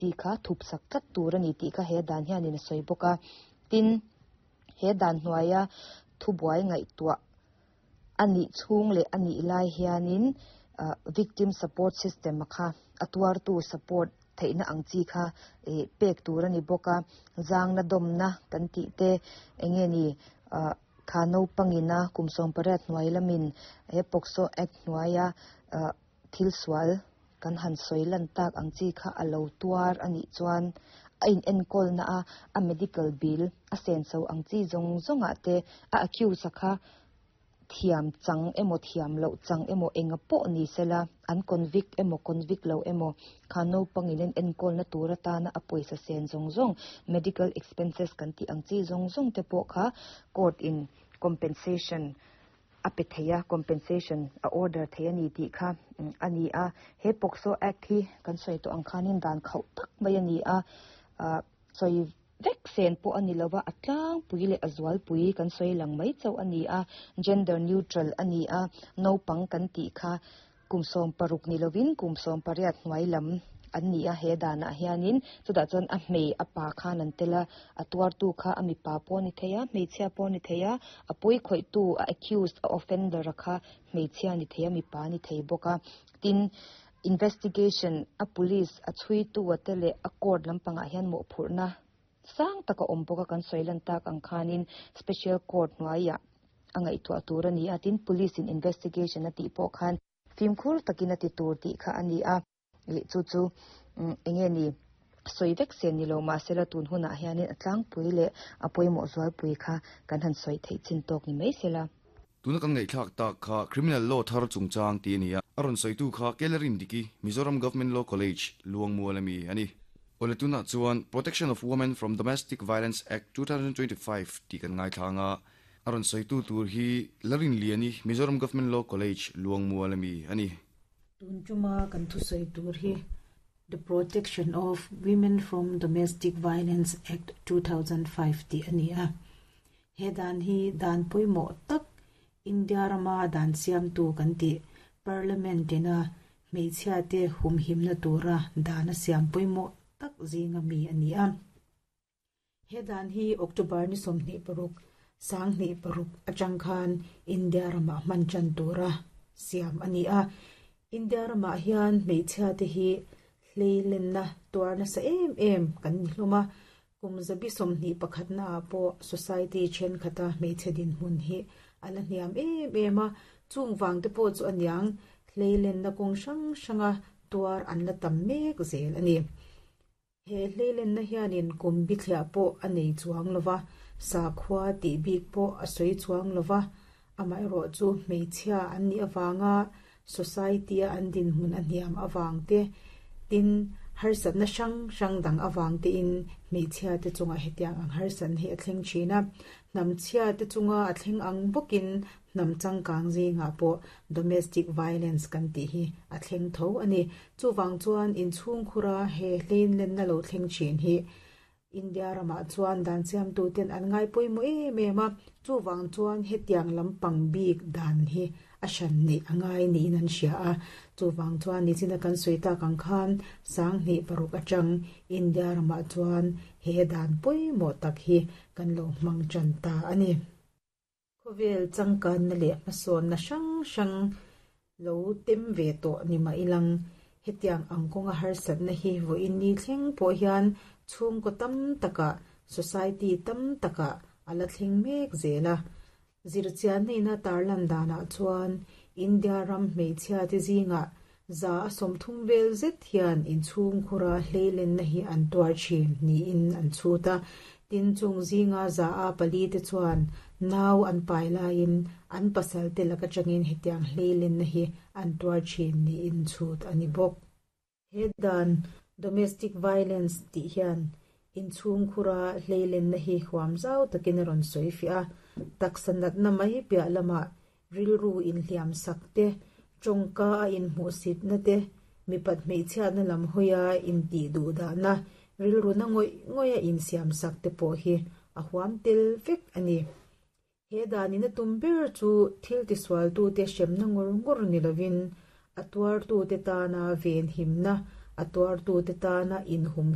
Tih kha thup sak tlat tur a ni tih kha he dan hianin a sawi bawk a. Tin, he dan hnuaia thubuai ngaihtuah a nih chhung leh a nih lai hianin victim support system a kha a tuartu support theihna ang chi kha pek tur a ni bawk a. Zangna dawmna kan tih te eng nge ni kha naupangina kum 18 hnuai lamin he POCSO Act hnuaia thil sual kan han sawi lan tak ang chi kha a lo tuar a nih chuan a in enkawlna a a medical bill a senso ang chi zawng zawng ah te a accused a kha thiam chang emaw thiam loh chang emaw enga pawh ni sela an convict emaw convict lo emaw kha naupang in an enkawlna tur atana a pawisa sen zawng zawng medical expenses kan tih ang chi zawng zawng te pawh kha court in compensation a pe thei a, compensation a order thei a ni tih kha a ni a. He POCSO Act hi kan sawi tawh ang khanin dan khauh tak mai a ni a, sawi vek sen pawh a ni lova, a tlangpui leh a zualpui kan sawi lang mai chauh a ni a, gender neutral a ni a, naupang kan tih kha Kum 16 ni lovin kum 18 hnuai lam an ni a, he danah hianin chutah chuan a hmei a pa khan an tel a, a tuartu kha a mipa pawh a ni thei a, hmeichhia pawh a ni thei a, a pawi khawihtu, a accused, a offender a kha hmeichhia a ni thei a, mipa a ni thei bawk a. Tin, investigation a police a chhuitu a te leh a court lampangah hian mawhphurhna sang tak a awm bawk a, kan sawi lan tak ang khanin special court hnuaiah a ngaihtuah tur a ni a, tin police in investigation a tih pawh khan fimkhur takin a ti tur tih kha a ni a, ih chu chu eng nge ni sawi vek se ni lo mahsela tun hunah hianin a tlangpui leh a pawimawh zualpui kha kan han sawi theih chin tawk ni mai sela. Tuna kan ngaihthlak tak kha Criminal Law thar chungchang tih a ni a, a rawn sawitu kha Kellerin Diki, Mizoram Government Law College, Luangmual ami a ni. Awle tunah chuan Protection of Women from Domestic Violence Act 2025 tih kan ngaithlang a, A rawn sawitu tur hi Larinliani, Mizoram Government Law College, Luangmual ami a ni. Tun tuma kan thusawi tur hi The Protection of Women from Domestic Violence Act 2005 tih a ni a. He dan hi dan pawimawh tak India rama dan siamtu kan tih Parliament ina hmeichhiate humhimna tura dan a siam pawimawh tak zinga mi a ni a. He dan hi October ni 26, 2006 atang khan India ramah hman tan tura siam a ni a. India ramah hian hmeichhia te hi hleilenna tuar nasa em em kan ni hlawm a. Kum 21 naah pawh society thenkhat a hmeichhe dinhmun hi a la hniam em em a. Chung vang te pawh chu aniang hleilenna kawng hrang hranga tuar an la tam mek zel a ni. He hleilenna hianin kum bithliah pawh a nei chuang lo va, sakhua tih bik pawh a sawi chuang lo va, amaherawh chu hmeichhia an nih avanga society-a an dinhmun a hniam avang te, tin, harsatna hrang hrang dang avang tein hmeichhia te chungah hetiang ang harsatna hi a thleng thin a. Hnamchhia te chunga a thleng ang bawkin Hnam changkang zingah pawh domestic violence kan tih hi a thleng tho a ni. Chuvang chuan inchhungkhura he hleinlenna lo thleng thin hi India ramah chuan dan siamtuten an ngai pawimawh em em a, chuvang chuan hetiang lampang bik dan hi a hran neih a ngai niin an hria a. Chuvang chuan nichina kan sawi tak ang khan 2006 atang India ramah chuan he dan pawimawh tak hi kan lo hmang tan ta a ni. Khawvel changkanna leh hmasawnna hrang hrang lo tem ve tawh ni mah ilang, hetiang ang kawnga harsatna hi vawiin ni thleng pawh hian chhungkaw tam takah, society tam takah a la thleng mek zel a. Zirchianna ina tarlan danah chuan India ram hmeichhiate zingah 30% vel zet hian inchhungkhura hleilenna hi an tuar thin niin an chhut a. Tin, chung zinga 4% te chuan nau an pai laiin an pasal te lak atangin hetiang hleilenna hi an tuar thin niin chhut a ni bawk. He dan domestic violence tih hian inchhungkhura hleilenna hi huam zau takin a rawn sawi fiah a, taksa natna mai piah lamah rilru inhliam sak te, tawngka a inhmuhsitna te, mipat hmeichhiatna lam hawia intih duhdahna, rilru na ngawih ngawih a insiam sak te pawh hi a huam tel vek a ni. He danin a tum ber chu thil tisualtute hremna ngawr ngawr ni lovin a tuartute tana venhimna A tuartute tana inhum.